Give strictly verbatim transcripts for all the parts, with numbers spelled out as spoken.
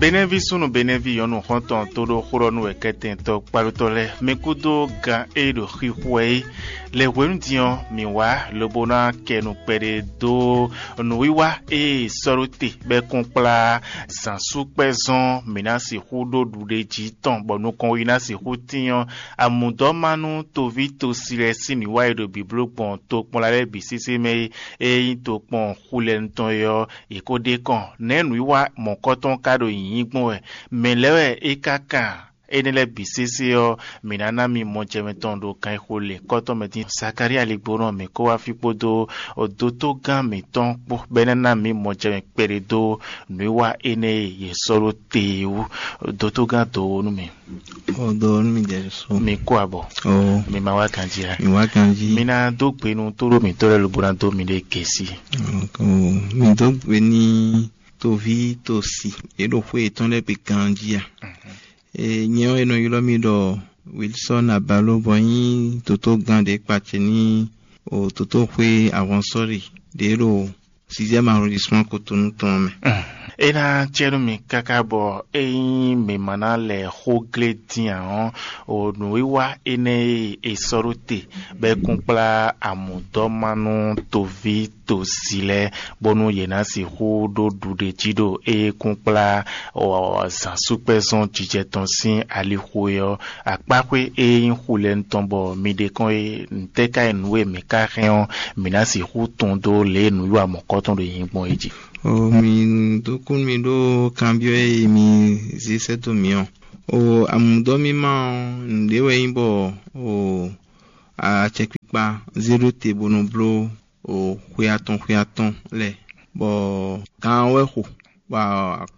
Benɛví súnnu Benɛví nyɔ̌nu xɔ́ntɔn tó ɖó xó ɖɔ nú wɛ kɛtɛntɔ́ kpalótɔ́ lɛ́ɛ, mi kúdó gan e ɖo xixo wɛ é. Lě hwenu din ɔ́, mǐ wá lobo ná kɛ nu kpɛɖé dó nǔwiwa e sɔ́ ɖó te bɔ é kún kplá zǎnsúkpɛ́zɔn mǐ ná sixú ɖó ɖuɖéjí tɔn, bɔ nukɔn yi ná sixú tín ɔ́, amǔdɔ́mánú toví tosi lɛ́ɛ sín nǔwiwa e ɖo bǐbló gbɔn tokpɔnla lɛ́ɛ bǐ sésé mɛ é, e nyí tokpɔn xulɛnu tɔn é ɔ́, yě ko ɖe kɔn. Nɛ̌ nǔwiwa mɔ̌kɔtɔn ka ɖo nyǐnyí gbɔn wɛ? Mɛ̌ lɛ́ɛ wɛ é ka kan? Énɛ́ lɛ́ɛ bǐ sésé ɔ́, mǐ ná ná mi mɔjɛmɛ tɔn ɖo kan e xo lě kɔ́tɔn mɛ dín. Zakalía ligbónɔ mǐ kó wá fí kpódó dótógán mǐtɔn kpó, bɔ é ná ná mǐ mɔjɛmɛ kpɛɖé dó nǔwiwa énɛ́ e yě sɔ́ ɖó te é wú. Dótógán dǒ nú mì. O dǒ nú mi ɖɛ̌ sú. Mi kó abɔ. O Mi ma wá ganjí a? Mi wá ganjí. Mi ná dó gbe nú tóɖó mǐtɔn lɛ́ɛ lobo ná dó miɖée gěsí. O mi dó gbe ní toví tosi. Yě ɖo xwé yětɔn lɛ́ɛ gbe ganjí a? E, nyɛ ɔ́, è nɔ ylɔ́ mì ɖɔ Wilsɔ́n Abalo, bɔ nyí dǒtógán ɖě kpacɛ ní o dǒtóxwé ahwansɔ́ɖi ɖě ɖo sixième arrondissement Cotonou tɔn ɔ́ mɛ. É ná cɛ nú mi káká bɔ ényí mǐ ma ná lɛ xó glé dín ǎ ɔ́, o nǔwiwa énɛ́ e è sɔ́ ɖó te bɔ é kún kplá amǔdɔ́mánú toví tosi lɛ́ɛ, bónú yě ná sixú ɖó ɖuɖéjí ɖo é kún kplá zǎnsúkpɛ́zɔn jijɛ tɔn sín alixo é ɔ́, akpáxwé e nyí xulɛnu tɔn bɔ mi ɖe kɔn é, ntɛ́ ka nyí nǔ e mǐ ka hɛn ɔ́, mǐ ná sixú tunwun dó lě e nǔwiwa mɔ̌kɔtɔn ɖo nyi gbɔn é jí. O mi dó kú mi ɖó kanbyɔ́ e mi zé sɛ́ dó mǐ ɔ́. O amǔdɔ́mímá ɔ́, nǔɖé wɛ nyí bɔ o acɛkpikpa zé ɖó te bó nɔ bló o xwe atɔn xwe atɔn lɛ́ɛ, bɔ gǎn ɔ́ wɛ xo, bɔ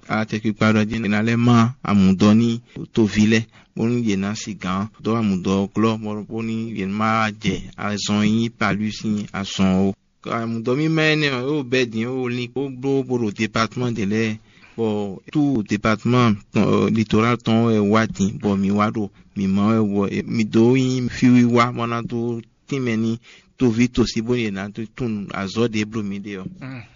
acɛkpikpa ɖɔ jí è nǎ lɛ́ má amǔdɔ́ ní toví lɛ́ɛ, bónú yě ná sí gǎn dó amǔdɔ́ ɔ́ glɔ́, bónú yě má jɛ azɔn e nyí palú sín azɔn ó. Amǔdɔ́mímá énɛ́ ɔ́, é wo bɛ́ din, é wo lin kpó bló bó ɖo departman ɖě lɛ́ɛ, bɔ tout departman tɔn, litoral tɔn wɛ wá din, bɔ mǐ wá ɖo mǐ má wɛ wɔ mǐ dó nyí fíwiwa bɔ ná dó tínmɛ ní toví tosí bónú yě ná dó tunwun azɔ̌ ɖě bló mǐ ɖe ɔ́.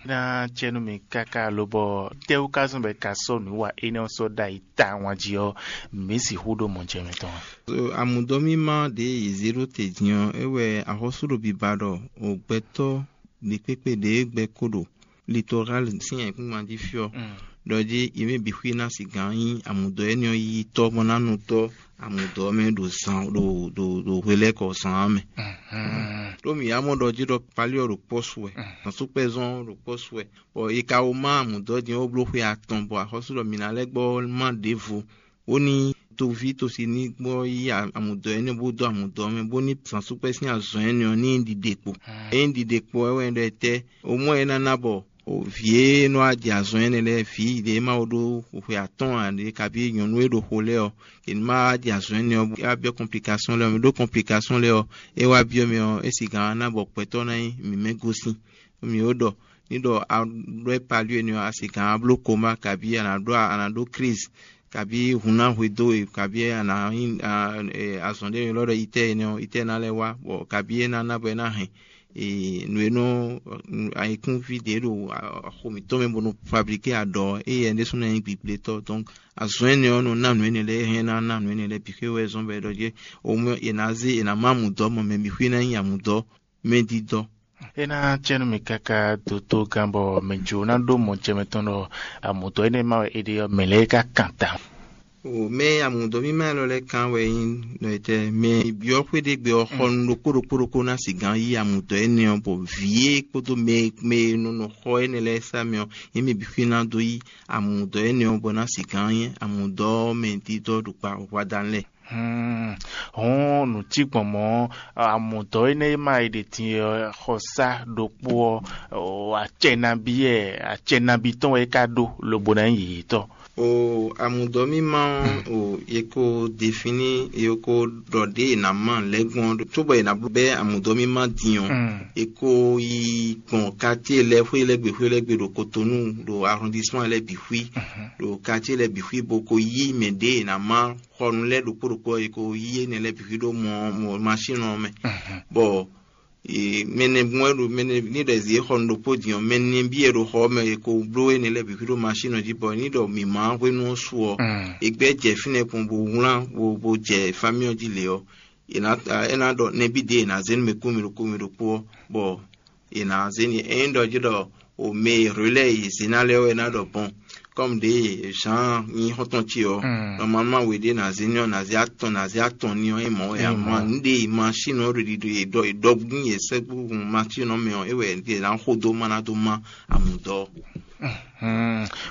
Ná cɛ́nú mi káká lobɔ tɛ́wú ka zɔ́n bɔ è ka sɔ́ nǔ wa énɛ́ ɔ́ sɔ́ ɖ'ayǐ tawun jí ɔ́, mǐ sixú ɖó mɔjɛmɛ tɔn a? Amǔdɔ́mímá ɖě yě zé ɖó te din ɔ́, é wɛ axɔ́sú ɖo biba ɖɔ gbɛtɔ́ ɖěkpékpé ɖě gbɛ ko ɖo Litoral sín ayǐkúngban jí fí ɔ́, ɖɔ jí yě mɛ bǐ xwí ná sigǎn nyí amǔdɔ́ énɛ́ ɔ́ yíyítɔ́ bɔ ná nu tɔ́ amǔdɔ́ ɔ́ mɛ ɖo zan ɖo ɖo ɖo hwe lɛ́ɛ kɔ zan ɔ́ mɛ. Ɖó mǐ yá mɔ ɖɔ jí ɖɔ Pali ɔ́ ɖo kpɔ́ su wɛ, zǎnsúkpɛ́zɔn ɔ́ ɖo kpɔ́ su wɛ, bɔ è ka wó má amǔdɔ́ din ɔ́ bló xwe atɔn, bɔ axɔ́sú ɖɔ mǐ ná lɛ́ gbɔ má ɖěvo, bó ní toví tosi ní gbɔ yí amǔdɔ́ énɛ́ bó dó amǔdɔ́ mɛ, bó ní zǎnsúkpɛ́ sín azɔ̌ énɛ́ ɔ́ ní ɖiɖe kpo. Ényí ɖiɖe kpo ɔ́ wɛ ɖɔ etɛ́? Omɔ́ é ná ná bɔ vǐ e nɔ wá jɛ azɔn énɛ́ lɛ́ɛ, vǐ ɖě ma wo ɖó xwe atɔ́ɔ́n ǎ ɖě, kabí nyɔ̌nu e ɖo xo lɛ́ɛ ɔ́, yě ní ma wá jɛ azɔn énɛ́ ɔ́, bó wá byɔ́ kɔnplikásɔ́n lɛ́ɛ ɔ́. Mɛ ɖó kɔnplikásɔ́n lɛ́ɛ ɔ́, é wá byɔ́ mɛ ɔ́, é sigǎn ná bɔ gbɛtɔ́ ná nyí mǐ mɛ gosín. Mǐ ó ɖɔ ní ɖɔ a ɖó é palú énɛ́ ɔ́, a sigǎn a bló komá, kabí a nǎ ɖó a nǎ ɖó klízi, kabí hun ná hwedó we, kabí a nǎ nyí azɔn ɖé e lɔ ɖɔ itɛ́ énɛ́ ɔ́, itɛ́ ná lɛ́ wá, bɔ kabí é ná ná bɔ é ná hɛn nǔ e nɔ ayikúnví ɖě ɖo xo mǐtɔn mɛ bó nɔ fablíké aɖɔ, éyɛ́ ɖésú ná nyí gbigblětɔ́. Donc azɔn énɛ́ ɔ́ nɔ ná nǔ énɛ́ lɛ́ɛ, é hɛn ná ná nǔ énɛ́ lɛ́ɛ bǐ xwé wɛ zɔ́n bɔ é ɖɔ jí omɔ è nǎ zé è nǎ má amǔdɔ́ mɔ mɛ bǐ xwé ná nyí amǔdɔ́ mɛdídɔ́. É ná cɛ́ nú mi káká dótó gán bɔ mɛ jǒ ná ɖó mɔ jɛ mɛtɔn ɖɔ amǔdɔ́ énɛ́ ma wɛ é ɖe ɔ́, mɛ lɛ́ɛ ka kan ta. O mɛ amǔdɔ́ mímá élɔ́ lɛ́ɛ kan wɛ nyí nɔ etɛ́ mɛ byɔ́ xwé ɖé gbe ɔ́, xɔ nu ɖokpó ɖokpó ɖokpó ná sigán yí amǔdɔ́ énɛ́ ɔ́, bɔ vǐ é kpódó mɛ mɛ e nɔ nɔ xɔ énɛ́ lɛ́ɛ sá mɛ ɔ́, yě mɛ bǐ xwé ná dó yí amǔdɔ́ énɛ́ ɔ́, bɔ ná sigán nyí amǔdɔ́ mɛ dídɔ́ ɖo kpa hwadan lɛ́ɛ. Hɔn nǔ cí gbɔn mɔ̌, amǔdɔ́ énɛ́ e ma yi ɖe din ɔ́, xɔsá ɖokpó ɔ́, acɛ nabí wɛ acɛ nabí tɔn wɛ é ka ɖó lobo ná nyí yěyětɔ́. O amǔdɔ́ mímá ɔ́, o è ko defini, è ko ɖɔ ɖě è nǎ ma lɛ́ gbɔn, cóbɔ è nǎ bɛ́ amǔdɔ́ mímá din ɔ́, è ko yi gbɔn quartier lɛ́ɛ, xwé lɛ́ɛ gbe, xwé lɛ́ɛ gbe ɖo Kotonu, ɖo arrondissement lɛ́ɛ bǐ xwí, ɖo quartier lɛ́ɛ bǐ xwí, bó ko yí mɛ ɖě è nǎ ma xɔ nu lɛ́ɛ ɖokpó ɖokpó ɔ́, è ko yí énɛ́ lɛ́ɛ bǐ xwí ɖó mɔ mɔ machine ɔ́ mɛ, bɔ Mɛnɛ gbɔn wɛ ɖo mɛnɛ ní ɖɔ zǐ e xɔ nu ɖokpó din ɔ́, mɛ nɛbí e ɖo xɔ ɔ́ mɛ e ko bló énɛ́ lɛ́ɛ bǐ xwí ɖo masín ɔ́ jí, bɔ ní ɖɔ mǐmá hwenu ɔ́ su ɔ́, è gbɛ́ jɛ fínɛ́ kpɔn bó wlán bó bó jɛ famí ɔ́ jí lě ɔ́, è nǎ é ná ɖɔ nɛbí ɖě è nǎ zé nú mɛ kú mɛ ɖokpó mɛ ɖokpó ɔ́, bɔ è nǎ zé n'i. Ényí ɖɔ jí ɖɔ o mɛ e hwě lɛ́ɛ e zě ná lɛ́ɛ wɛ ná ɖɔ bɔn, kɔ́mu ɖě Zǎan nyí xɔ́ntɔn ce ɔ́, nɔmalma we ɖé ná zé ní ɔ́, ná zé atɔn ná zé atɔn ní ɔ́, é mɔ̌ wɛ ǎ. Ma nǔɖé e ma sín nɔ ɖo ɖiɖo e ɖɔ e ɖɔ gbín e sɛ́gbúhun ma sín nɔ mɛ ɔ́, é wɛ è nǎ xo dó má ná dó má amǔdɔ́.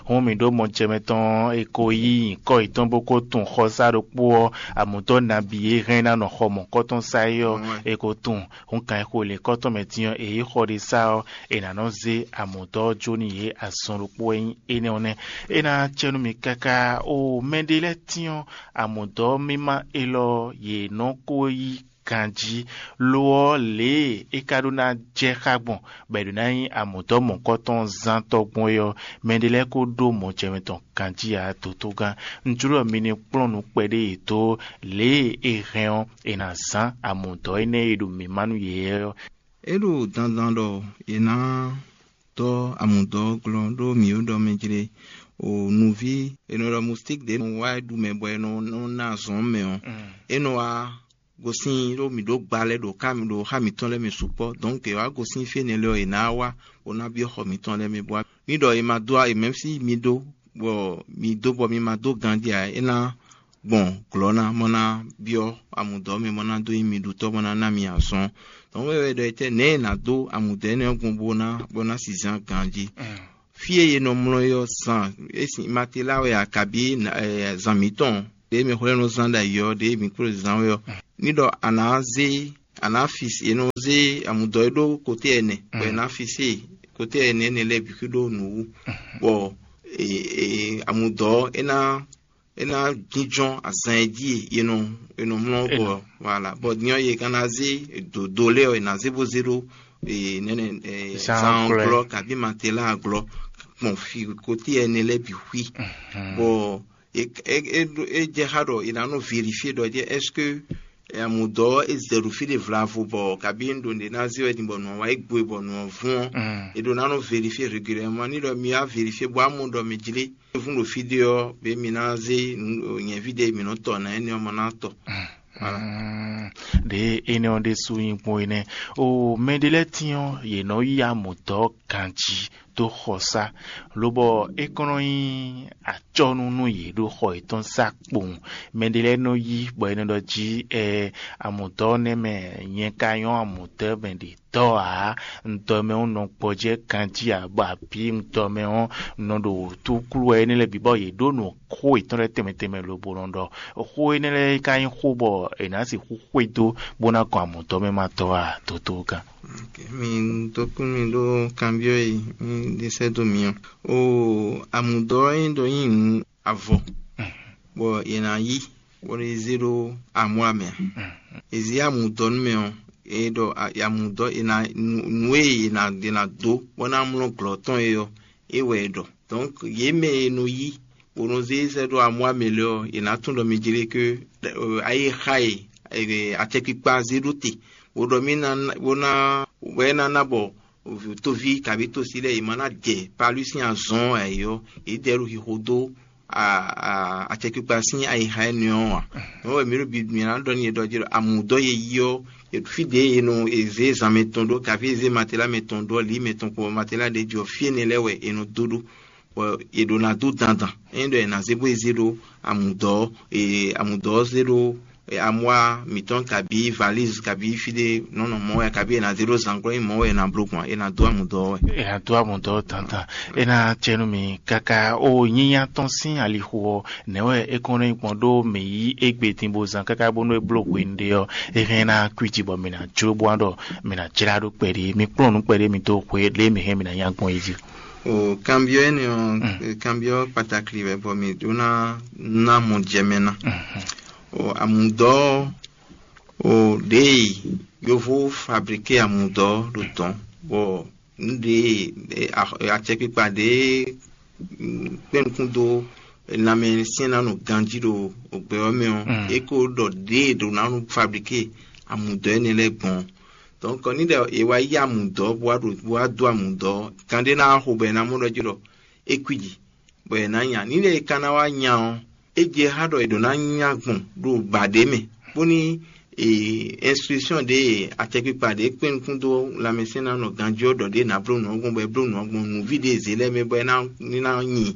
Hǔn mǐ ɖó mɔjɛmɛ tɔn e ko yí nyǐkɔ yětɔn bó ko tunwun xɔsá ɖokpó ɔ́, amǔdɔ́ nabí e hɛn ná nɔ xɔ mɔ̌kɔtɔn sá é ɔ́, è ko tunwun. Hǔn kan e xo lěkɔ́ tɔn mɛ din ɔ́, è yí xɔ ɖé sá ɔ́, è nǎ nɔ zé amǔdɔ́ ɔ́ jó n'i yě azɔn ɖokpó wɛ nyí énɛ́ ɔ́ nɛ́. É ná cɛ nú mi káká ó mɛɖé lɛ́ɛ tyɔ́n amǔdɔ́ mímá élɔ́ yě nɔ ko yí ganjí. Lo ɔ́, lě e é ka ɖó ná jɛ xá gbɔn bɔ è ɖǒ ná nyí amǔdɔ́ mɔ̌kɔtɔn zán tɔ́ gbɔn é ɔ́, mɛɖé lɛ́ɛ ko ɖó mɔjɛmɛ tɔn ganjí ǎ. Dotogán, un jló ɖɔ mi ní kplɔ́n nǔ kpɛɖé yětɔn lě e è hɛn ɔ́, è nǎ zán amǔdɔ́ énɛ́ e ɖo mǐmá nú yě ɔ́. É ɖo dandan ɖɔ è nǎ dɔ́ amǔdɔ́ ɔ́ glɔ́ ɖó mǐ ó ɖɔ mɛ jlé o nǔví è nɔ ɖɔ mustík ɖě nɔ wá ɖu mɛ bɔ è nɔ ná azɔn mɛ ɔ́, é nɔ wá gosín ɖó mǐ ɖó gba lɛ́ɛ ɖo ká ɖo xá mǐtɔn lɛ́ɛ mɛ sukpɔ́. Dɔ̌nkɛ è wǎ gosín fí énɛ́ lɛ́ɛ ɔ́, è nǎ wá bó ná byɔ́ xɔ mǐtɔn lɛ́ɛ mɛ bó wá. Mǐ ɖɔ è ma dó è mɛ̌ sí mi ɖó bɔ mi dó bɔ mi ma dó ganjí ǎ, é ná gbɔn glɔ̌ ná bó ná byɔ́ amǔdɔ́ mɛ bó ná dó nyí mi ɖutɔ́ bó ná ná mi azɔn. Dɔ̌nkɛ é wɛ ɖɔ etɛ́ nɛ̌ è nǎ dó amǔdɔ́ énɛ́ ɔ́ gbɔn bó ná bó ná si zán ganjí. Fí e è nɔ mlɔ́ é ɔ́, zan é sin Matela wɛ a kabǐ zan mǐtɔn ɖě mɛ xwlɛ́ nɔ zán ɖo ayǐ ɔ́, ɖě mǐ kplɔ́n zán wɛ ɔ́, ní ɖɔ a nǎ zé a nǎ fi è nɔ zé amǔdɔ́ e ɖó koté ɛnɛ, bɔ è nǎ fi sí koté ɛnɛ énɛ́ lɛ́ɛ bǐ xwí ɖó nǔ wú, bɔ amǔdɔ́ é ná é ná jínjɔ́n azan e jí e è nɔ è nɔ mlɔ́ bɔ voilà bɔ din ɔ́, yě ka ná zé dǒdó lɛ́ɛ ɔ́, è nǎ zé bó zé ɖó nɛnɛ zan glɔ́ kabí Matela glɔ́ gbɔn fi koté ɛnɛ lɛ́ɛ bǐ xwí, bɔ é jɛ xá ɖɔ è nǎ nɔ vérifié ɖɔ jɛ est-ce que amǔdɔ́ é zɛ ɖo fí ɖé vlavo bɔ kabí un ɖo nǔɖé ná zé wɛ din bɔ nǔ ɔ́ wá yi gbo e bɔ nǔ ɔ́ vún ɔ́, è ɖo ná nɔ vérifié régulièrement. Ní ɖɔ mi wá vérifié bó wá mɔ ɖɔ mi jlé vún ɖo fí ɖé ɔ́, bě mi ná zé nyɛ̌ví ɖé mi nɔ tɔ ná énɛ́ ɔ́ ma ná tɔ. Ɖě énɛ́ ɔ́ ɖésú nyí gbɔn é nɛ́. O mɛɖé lɛ́ɛ tín ɔ́, yě nɔ yí amǔdɔ́ ganjí dó xɔsá, lobɔ é kɔn nɔ nyí acɔ́nú nú yě ɖo xɔ yětɔn sá kpowun. Mɛɖé lɛ́ɛ nɔ yí bɔ é nɔ ɖɔ jí ɛ amǔdɔ́ nɛ́ mɛ nyɛ ka nyɔ́ amǔdɔ́ mɛ ɖě tɔ́ ǎ. Un dɔ mɛ ɔ́ nɔ gbɔjɛ́ ganjí ǎ, bɔ abǐ un dɔ mɛ ɔ́ nɔ ɖo wǔtúklú wɛ énɛ́ lɛ́ɛ bǐ bɔ yě ɖó nǔ xó yětɔn lɛ́ɛ tɛnmɛ tɛnmɛ lobo nɔ ɖɔ xó énɛ́ lɛ́ɛ ka nyí xó bɔ è nǎ sixú xwedó bó ná gɔn amǔdɔ́ mɛ ma tɔ́ ǎ. Dodógán. Mi dó kún mi ɖó kanbyɔ́ e mi ɖe sɛ́ dó mi ɔ́. O amǔdɔ́ e ɖɔ nyí nǔ avɔ, bɔ è nǎ yí bɔ è zé ɖó amɔ̌ mɛ ǎ. È zě amǔdɔ́ nú mɛ ɔ́, è ɖɔ amǔdɔ́ è nǎ nǔ e è nǎ è nǎ dó bɔ é ná mlɔ́ glɔ̌ tɔn é ɔ́, é wɛ è ɖɔ. Donc yě mɛ e nɔ yí bó nɔ zé sɛ́ ɖó amɔ̌ mɛ lɛ́ɛ ɔ́, è nǎ tunwun ɖɔ mi jlé ké ayixa e acɛkpikpa zé ɖó te, bó ɖɔ mì ná bó ná bɔ é ná ná bɔ toví kabí tosi lɛ́ɛ yě ma ná jɛ palú sín azɔn ɔ́ ǎ é ɔ́, yě ɖɛ ɖo xixo dó acɛkpikpa sín ayixa énɛ́ ɔ́ ǎ. Nɔ̌ wɛ mǐ ɖo bi mǐ ná ɖɔ n'i e ɖɔ jí ɖɔ amǔdɔ́ e yí ɔ́, fí ɖě e nɔ e zě zan mɛtɔn ɖó, kaví e zě matela mɛtɔn ɖó, lǐ mɛtɔn kpó matela ɖě jí ɔ́, fí énɛ́ lɛ́ɛ wɛ è nɔ dó ɖó, bɔ è ɖǒ ná dó dandan. Ényí ɖɔ è nǎ zé bó e zé ɖó amǔdɔ́, e amǔdɔ́ ɔ́ zé ɖó amwa mǐtɔn kabí valíz kabí fí ɖé nɔ́ nɔ mɔ̌ wɛ kabí è nǎ zé ɖó zǎngbɔ́ nyí mɔ̌ wɛ è nǎ bló gbɔn è nǎ dó amǔdɔ́ wɛ. È nǎ dó amǔdɔ́ dandan. É ná cɛ nú mi káká ó nyínyá tɔn sín alixo ɔ́, nɛ̌ wɛ é kɔn nɔ nyí gbɔn ɖó mǐ yí égbé din bó zán káká bónú é bló hwenu ɖé ɔ́, é hɛn ná kwíji bɔ mǐ ná jló bó wá ɖɔ mǐ ná jlá ɖó kpɛɖé, mi kplɔ́n nǔ kpɛɖé mi dó xwe lě e mǐ hɛn mǐ ná nya gbɔn é jí. O kanbyɔ́ énɛ́ ɔ́, kanbyɔ́ kpatakli wɛ bɔ mǐ ɖó ná ná mɔ jɛ mɛ ná. O amǔdɔ́ o ɖěe yovó fablíké amǔdɔ́ ɖo dɔ̌n, bɔ nǔ ɖě acɛkpikpa ɖě kpɛ́n nukún dó lanmɛ syɛ́n ná nɔ ganjí ɖo gbɛ ɔ́ mɛ ɔ́, é ko ɖɔ ɖěe ɖo ná nɔ fablíké amǔdɔ́ énɛ́ lɛ́ɛ gbɔn. Donc ní ɖɔ è wá yí amǔdɔ́ bó wá ɖo bó wá dó amǔdɔ́, kan ɖé ná wá xo bɔ è ná mɔ ɖɔ jí ɖɔ é kwíji, bɔ è nǎ nya. Ní ɖɔ è ka ná wá nya ɔ́, é jɛ xá ɖɔ è ɖǒ ná nya gbɔn ɖo ba ɖě mɛ, bóní instruction ɖě, acɛkpikpa ɖě kpé nukún dó lanmɛsɛ́nnánɔ ganjí ɔ́ ɖɔ ɖě ná bló nǔ ɔ́ gbɔn, bɔ é bló nǔ ɔ́ gbɔn, nǔví ɖě zě lɛ́ɛ mɛ bɔ é ná ní ná nyi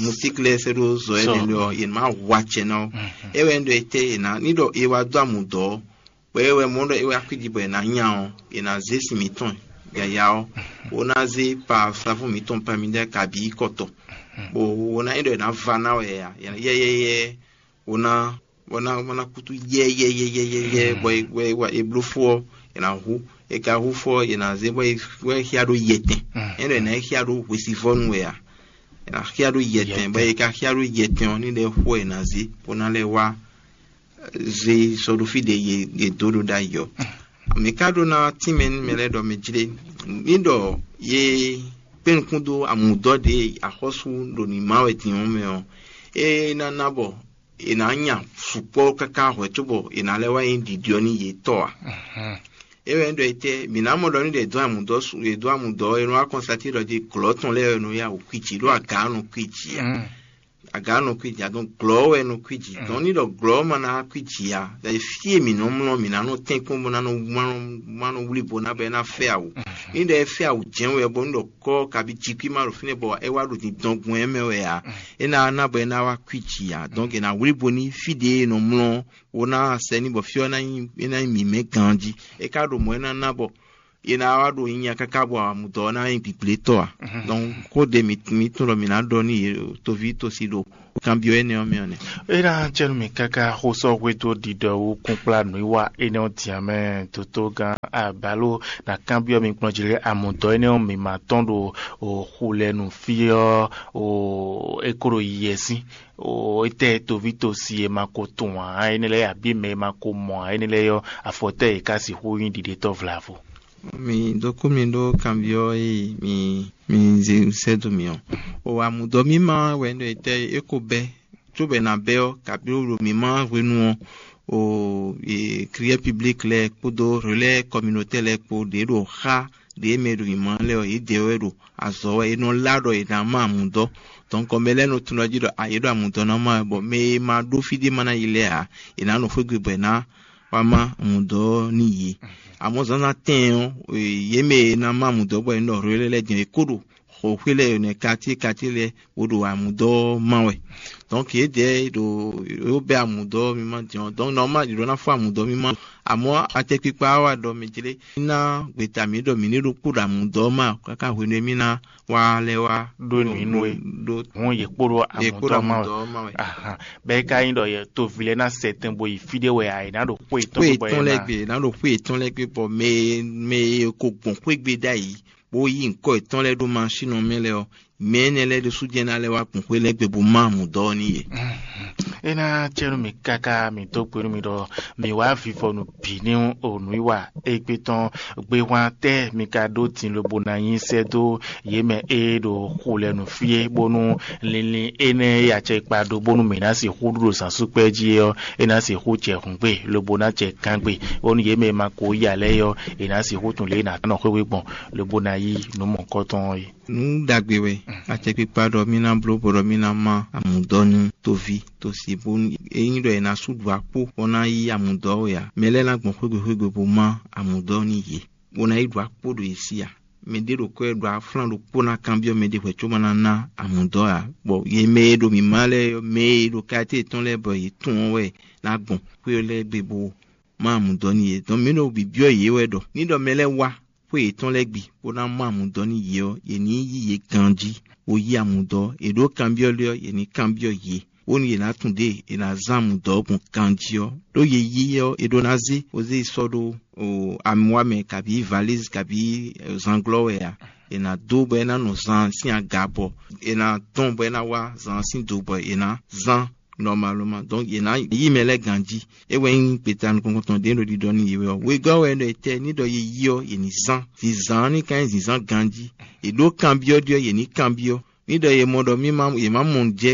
musík lɛ́ɛ sɛ́ ɖó zɔ énɛ́ lɛ́ɛ ɔ́, yě má hu acɛ ná ɔ́. É wɛ un ɖɔ etɛ́ è nǎ ní ɖɔ è wá dó amǔdɔ́ ɔ́, bɔ é wɛ mɔ ɖɔ é wɛ akwíji bɔ è nǎ nya ɔ́, è nǎ zé sin mǐtɔn yǎyá ɔ́, bó ná zé pa safún mǐtɔn pamidɛ́ kabǐ kɔtɔ, bó wó ná é ɖɔ è nǎ va ná wɛ ǎ, yɛyɛyɛ wó ná bɔ ná bɔ ná kútú yɛyɛyɛyɛyɛ bɔ é bɔ é wa é bló fó ɔ́, è nǎ hu. É ka hu fó ɔ́, è nǎ zé bɔ é bɔ é xyá ɖó yɛtɛn. É ɖɔ è nǎ é xyá ɖó hwesivɔ́nu wɛ ǎ. È nǎ xyá ɖó yɛtɛn bɔ é ka xyá ɖó yɛtɛn ɔ́, ní ɖɛ xó è nǎ zé bó ná lɛ́ wá zé sɔ́ ɖó fí ɖě yě yě dó ɖó ɖ'ayǐ ɔ́. Mǐ ka ɖó ná tínmɛ nú mɛ lɛ́ɛ ɖɔ mɛ jlé ní ɖɔ yě kpé nukún dó amǔdɔ́ ɖě axɔ́sú ɖo nǐ má wɛ din ɔ́ mɛ ɔ́, é ná ná bɔ è nǎ nya sukpɔ́ káká hwɛ̌ cóbɔ è nǎ lɛ́ wá nyí ɖiɖi ɔ́ nú yě tɔ́ ǎ. É wɛ nyí ɖɔ etɛ́ mǐ ná mɔ ɖɔ nú ɖě dó amǔdɔ́ su è dó amǔdɔ́ ɔ́, è nɔ wá kɔnstatín ɖɔ jí glɔ̌ tɔn lɛ́ɛ wɛ nɔ yá wǔ kwíji ɖó aga ɔ́ nɔ kwíji ǎ. Aga ɔ́ nɔ kwíji ǎ, dɔn glɔ̌ wɛ nɔ kwíji. Dɔn ní ɖɔ glɔ̌ ma ná kwíji ǎ, fí e mǐ nɔ mlɔ́ mǐ ná nɔ tɛ́nkpɔ́n bó ná nɔ má nɔ wlí bo ná bɔ é ná fɛ awu. Ní ɖɔ é fɛ awu jɛ́n wɛ bɔ ní ɖɔ kɔ́ kabi jí kwí má ɖo fínɛ́ bɔ é wá ɖo dindɔn gbɔn ɛ mɛ wɛ ǎ. É ná ná bɔ é ná wá kwíji ǎ. Donc è nǎ wlí bo ní fí ɖě e è nɔ mlɔ́ ɔ́, wo ná sɛ ní bɔ fí ɔ́ ná nyí é ná nyí mǐmɛ́ ganjí. É ka ɖo mɔ̌ é ná ná bɔ è nǎ wá ɖo nyinya káká bɔ amǔdɔ́ ɔ́ ná nyí gbǐgblétɔ́ ǎ. Donc xó ɖě mǐ mǐ tunwun ɖɔ mǐ ná ɖɔ nú yě toví tosi ɖo kanbyɔ́ énɛ́ ɔ́ mɛ ɔ́ nɛ́. É ná jɛ nú mì káká xó sɔ́ hwedó ɖiɖɔ wú kúnkplá nǔwiwa énɛ́ ɔ́ din ǎ mɛ dotó gán abalo ná kanbyɔ́ mi kplɔ́n jí lé amǔdɔ́ énɛ́ ɔ́ mǐ ma tɔ́n ɖo xu lɛ nú fí ɔ́ o é kó ɖo yiyɛ sín o étɛ́ toví tosi e ma ko tunwun ǎ énɛ́ lɛ́ɛ abǐ mɛ e ma ko mɔ ǎ énɛ́ lɛ́ɛ ɔ́ afɔtɛ́ e ka sixú nyí ɖiɖetɔ́ vlavo. Mi dó kú mi ɖó kanbyɔ́ e mi mi zé sɛ́ dó mi ɔ́. O amǔdɔ́ mímá wɛ ɖɔ etɛ́ é ko bɛ́, cóbɔ è nǎ bɛ́ ɔ́, kabí ɖo mǐmá hwenu ɔ́, o e, client public lɛ́ɛ kpódó relais communautaire lɛ́ɛ kpó ɖě ɖo xá ɖě mɛ e ɖo mǐmá lɛ́ɛ ɔ́, yědɛɛ wɛ ɖo azɔ̌ wɛ, è nɔ lá ɖɔ è nǎ má amǔdɔ́. Donc mɛ lɛ́ɛ nɔ tunwun jí ɖɔ a yě ɖo amǔdɔ́ ná má wɛ, bɔ mɛ e ma ɖó fí ɖé ma ná yi lɛ́ɛ ǎ, è nǎ nɔ xwé gbe bɔ è nǎ wá má amǔdɔ́ nú yě. Amɔ̌ zǎnzǎn tɛɛn ɔ́, yě mɛ e ná má amǔdɔ́ bɔ è nɔ relais lɛ́ɛ din ɔ́, è kó ɖo xɔxwé lɛ́ɛ nɛ́ quartier quartier lɛ́ɛ bó ɖo amǔdɔ́ má wɛ. Donc yědɛɛ ɖo yó bɛ́ amǔdɔ́ mímá din ɔ́, donc normal yě ɖó ná fɔ amǔdɔ́ mímá. Amɔ̌ atɛkpikpa wá wá ɖɔ mɛ jlé ná gbeta mǐ ɖɔ mǐ ní ɖó kpó ɖo amǔdɔ́ má káká hwenu e mí ná wá lɛ́ wá ɖó nǔ nú we ɖó hɔn yě kpó ɖó yě kpó ɖo amǔdɔ́ má wɛ. Amǔdɔ́ má wɛ. Ahan. Bɛ́ é ka nyí ɖɔ yɛ toví lɛ́ɛ ná sɛ tɛn bo yi fí ɖé wɛ ǎ, è nǎ ɖo xwé yětɔn xwé gbé bɔ è yětɔn lɛ́ɛ nǎ gbé è nǎ ɖo xwé yětɔn lɛ́ɛ gbé bɔ mɛ e mɛ e ko gbɔn xwé gbe ɖ'ayǐ bó yí ŋkɔ yětɔn lɛ́ɛ ɖó masín ɔ́ mɛ lɛ́ɛ ɔ́, mɛ énɛ́ lɛ́ɛ ɖésú jɛ́n ná lɛ́ wá gbɔn xwé lɛ́ɛ gbe bó má amǔdɔ́ ɔ́ n'i yě. É ná cɛ nú mi káká mi dó gbe nú mi ɖɔ mi wá vivɔnu bǐ ní o nǔwiwa égbé tɔn gbéhwan tɛ́ mi ka ɖó din lobo ná nyi sɛ́ dó yě mɛ e ɖo xu lɛ nǔ fí é, bónú linlin énɛ́ e acɛ kpa ɖó bónú mǐ ná sixú ɖu ɖo zǎnsúkpɛ́ jí é ɔ́, é ná sixú jɛ hǔngbe lobo ná jɛ gángbe, bónú yě mɛ e ma ko yí ǎ lɛ́ɛ é ɔ́, è nǎ sixú tunwun lě e è nǎ nɔ xwé wé gbɔn lobo ná yí nǔ mɔ̌hunkɔtɔn ɔ́ é. Nǔ ɖagbe wɛ acɛkpikpa ɖɔ mì ná bló bɔ ɖɔ mì ná má amǔdɔ́ nú toví tosi bónú ényí ɖɔ è nǎ sú ɖu akpó bó ná yí amǔdɔ́ wɛ ǎ, mɛ lɛ́ɛ ná gbɔn xwégbe xwégbe bó má amǔdɔ́ nú yě, bó ná yi ɖu akpó ɖo yě sí ǎ. Mɛ ɖé ɖo kɔ́ ɖo aflán ɖokpó ná kanbyɔ́ mɛ ɖé hwɛ̌ có ma ná ná amǔdɔ́ ǎ, bɔ yě mɛ e ɖo mǐmá lɛ́ɛ ɔ́, mɛ e ɖo kayɛ́té yětɔn lɛ́ɛ bɔ yě tunwun ɔ́ wɛ ná gbɔn xwé ɔ́ lɛ́ɛ gbe bó má amǔdɔ́ nú yě. Dɔn mǐ ɖo bǐbyɔ́ yě wɛ ɖɔ ní ɖɔ mɛ lɛ́ɛ wá xwé yětɔn lɛ́ɛ gbe bó ná má amǔdɔ́ nú yě ɔ́, yě ní yí yě ganjí, bó yí amǔdɔ́; è ɖǒ kanbyɔ́ lé ɔ́, yě ní kanbyɔ́ yě, bónú yě ná tunwun ɖěe è nǎ zán amǔdɔ́ ɔ́ gbɔn ganjí ɔ́. Ɖó yě yí ɔ́, è ɖó ná zé, bó zé yi sɔ́ ɖó amwa mɛ kabǐ valízi kabǐ zanglɔ́ wɛ ǎ. È nǎ dó bɔ é ná nɔ zan sín aga bɔ è nǎ dɔn bɔ é ná wá zan sín do bɔ è nǎ zán nɔmaloma. Donc yě ná yí mɛ lɛ́ɛ ganjí. É wɛ nyí gbeta nukɔn tɔn ɖě ɖo ɖiɖɔ nú yě wɛ ɔ́. Wegɔ́ wɛ ɖɔ etɛ́ ní ɖɔ yě yí ɔ́, yě ní zán. Zǐnzán ní ka nyí zǐnzán ganjí. È ɖǒ kanbyɔ́ ɖi ɔ́, yě ní kanbyɔ́. Ní ɖɔ yě mɔ ɖɔ mí má yě má mɔ jɛ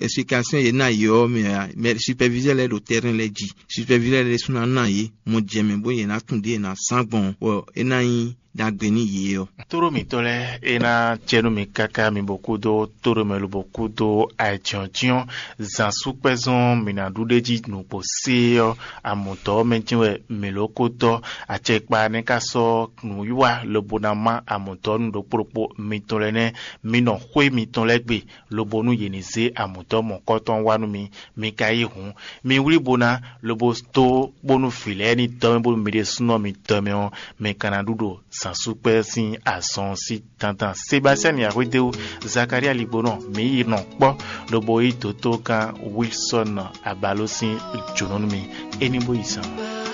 explication yě ná yě ɔ́ mɛ ǎ, mɛ superviseur lɛ́ɛ ɖo terrain lɛ́ɛ jí. Superviseur lɛ́ɛ ɖésú ná ná yě mɔ jɛ mɛ bó yě ná tunwun ɖě yě ná sán gbɔn bɔ é ná nyí ɖagbe nú yě ɔ́. Tóɖó mǐtɔn lɛ́ɛ é ná jɛ nú mi káká mi bó kúdó tóɖó mɛ lobo kúdó ayǐjínjɔ́n zǎn súkpɛ́zɔn mǐ ná ɖu ɖ'é jí nǔgbó sé ɔ́, amɔ̌dɔ́ mɛ jɛ́n wɛ mǐ ló ko dɔ́. Acɛkpa nɛ́ ka sɔ́ nǔwiwa lobo ná má amɔ̌dɔ́ nú ɖokpó ɖokpó mitɔn lɛ́ɛ nɛ́, mi nɔ xwé mitɔn lɛ́ɛ gbe, lobo nú yě ní zé amɔ̌dɔ́ mɔ̌kɔtɔn wá nú mi. Mi ka yí hǔn, mi wlí bo ná, lobo dó bónú vǐ lɛ́ɛ ní dɔ́ mɛ bónú mi ɖésúnɔ mi dɔ́ mɛ ɔ́, mi ka ná ɖu ɖo zǎnsúkpɛ́ sín azɔn sín dandan. Sebastiyani Axwédéwu, Zakalía Ligbonɔ, mǐ yi nɔ kpɔ́, lobo yí dǒtó gán Wilsɔ́n Abaló sín jǒnɔ nú mi. É ní bó yi zán.